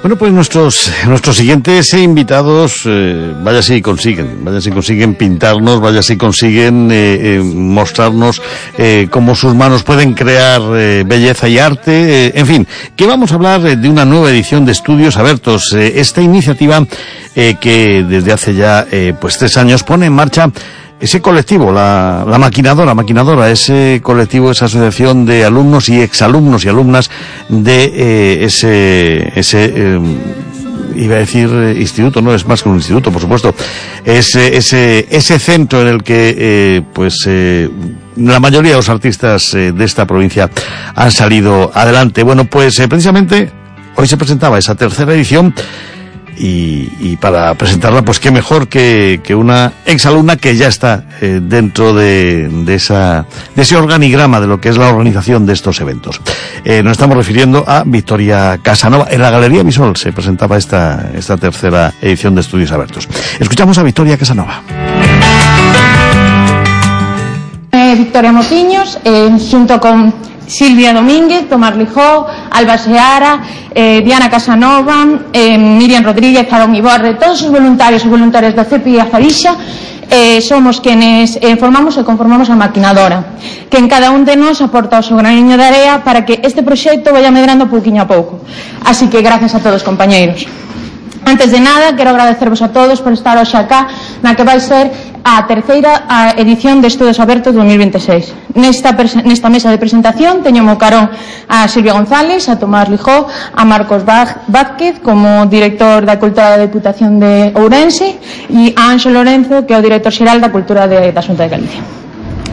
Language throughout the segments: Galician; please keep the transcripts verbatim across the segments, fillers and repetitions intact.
Bueno, pues nuestros nuestros siguientes invitados, eh, vaya si consiguen, vaya si consiguen pintarnos, vaya si consiguen eh, eh, mostrarnos eh, cómo sus manos pueden crear eh, belleza y arte, eh, en fin, que vamos a hablar eh, de una nueva edición de Estudios Abertos, eh, esta iniciativa eh, que desde hace ya eh, pues tres años pone en marcha ese colectivo, la, la maquinadora, maquinadora, ese colectivo, esa asociación de alumnos y exalumnos y alumnas de eh, ese, ese eh, iba a decir eh, instituto, no es más que un instituto, por supuesto, ese, ese, ese centro en el que, eh, pues, eh, la mayoría de los artistas eh, de esta provincia han salido adelante. Bueno, pues, eh, precisamente, hoy se presentaba esa tercera edición. Y, y para presentarla, pues qué mejor que, que una exalumna que ya está eh, dentro de, de, esa, de ese organigrama de lo que es la organización de estos eventos. Eh, nos estamos refiriendo a Victoria Casanova. En la Galería Visual se presentaba esta, esta tercera edición de Estudios Abertos. Escuchamos a Victoria Casanova. Eh, Victoria Mociños, eh, junto con Silvia Domínguez, Tomás Lijó, Alba Seara, eh, Diana Casanova, eh, Miriam Rodríguez, Aarón Iborre, todos os voluntarios e voluntarias da C E P I a Farixa, eh, somos quienes eh, formamos e conformamos a maquinadora, que en cada un de nós aporta o seu graniño de area para que este proxecto vaya medrando pouquiño a pouco. Así que gracias a todos, compañeiros. Antes de nada, quero agradecervos a todos por estar hoxe acá na que vai ser a terceira a edición de Estudios Abertos dos mil veintiséis. Nesta, nesta mesa de presentación teño mo carón a Silvia González, a Tomás Lijó, a Marcos Vázquez como director da Cultura da Deputación de Ourense e a Anxo Lorenzo, que é o director xeral da Cultura de, da Xunta de Galicia.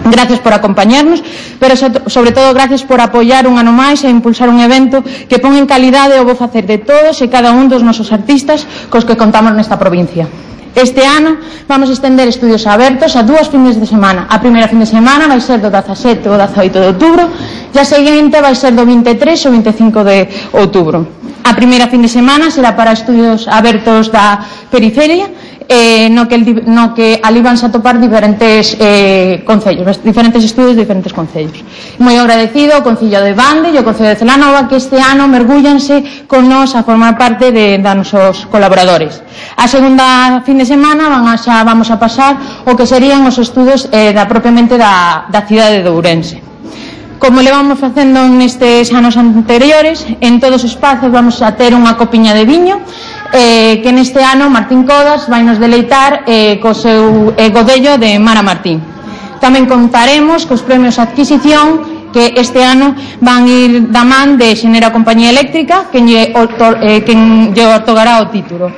Gracias por acompañarnos, pero sobre todo gracias por apoiar un ano máis e impulsar un evento que pon en calidade o bo facer de todos e cada un dos nosos artistas cos que contamos nesta provincia. Este ano vamos a estender Estudios Abertos a dúas fines de semana. A primeira fin de semana vai ser do dezasete ao dezaoito de outubro e a seguinte vai ser do vinte e tres ao vinte e cinco de outubro. A primeira fin de semana será para Estudios Abertos da periferia, eh, no, que el, no que ali van a topar diferentes eh, concellos, diferentes estudios de diferentes concellos. Moi agradecido ao Concello de Bande e ao Concello de Celanova que este ano mergullanse con nos a formar parte de, de nosos colaboradores. A segunda fin de semana van a, xa vamos a pasar o que serían os estudos eh, da propiamente da, da cidade de Ourense. Como le vamos facendo nestes anos anteriores, en todos os espazos vamos a ter unha copiña de viño, eh, que neste ano Martín Codas vai nos deleitar eh, co seu eh, godello de Mara Martín. Tamén contaremos cos premios a adquisición que este ano van ir da man de Xenera Compañía Eléctrica, quen lle, otor, eh, quen lle otorgará o título.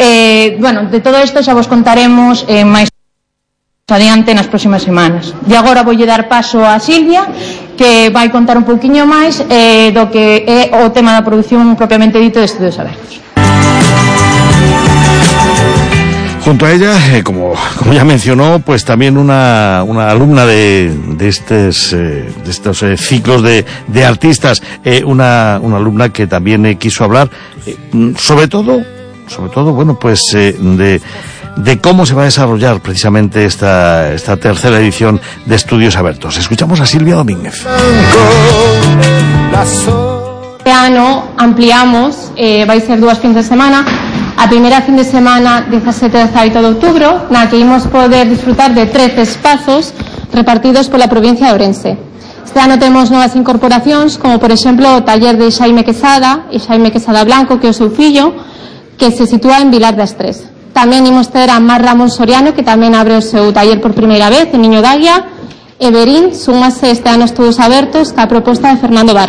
Eh, bueno, de todo isto xa vos contaremos eh, máis adiante nas próximas semanas. E agora voulle dar paso a Silvia, que vai contar un pouquiño máis eh, do que é o tema da produción propiamente dito de Estudios Abertos. Junto a ella, eh, como, como ya mencionó, pues también una, una alumna de, de, estes, eh, de estos eh, ciclos de, de artistas, eh, una, una alumna que también eh, quiso hablar, eh, sobre todo, sobre todo, bueno, pues eh, de... de cómo se va a desarrollar precisamente esta, esta tercera edición de Estudios Abertos. Escuchamos a Silvia Domínguez. Este ano ampliamos, eh, vai ser dúas fins de semana. A primeira fin de semana, dezasete e dezaoito de outubro, na que imos poder disfrutar de trece espazos repartidos pola provincia de Ourense. Este ano temos novas incorporacións, como por exemplo o taller de Xaime Quesada e Xaime Quesada Blanco, que é o seu fillo, que se sitúa en Vilar das Tres. Tamén imos ter a Mar Ramón Soriano, que tamén abre o seu taller por primeira vez, en Niño d'Águia, e Berín, súmase este ano Estudios Abertos, ca proposta de Fernando Barreiro.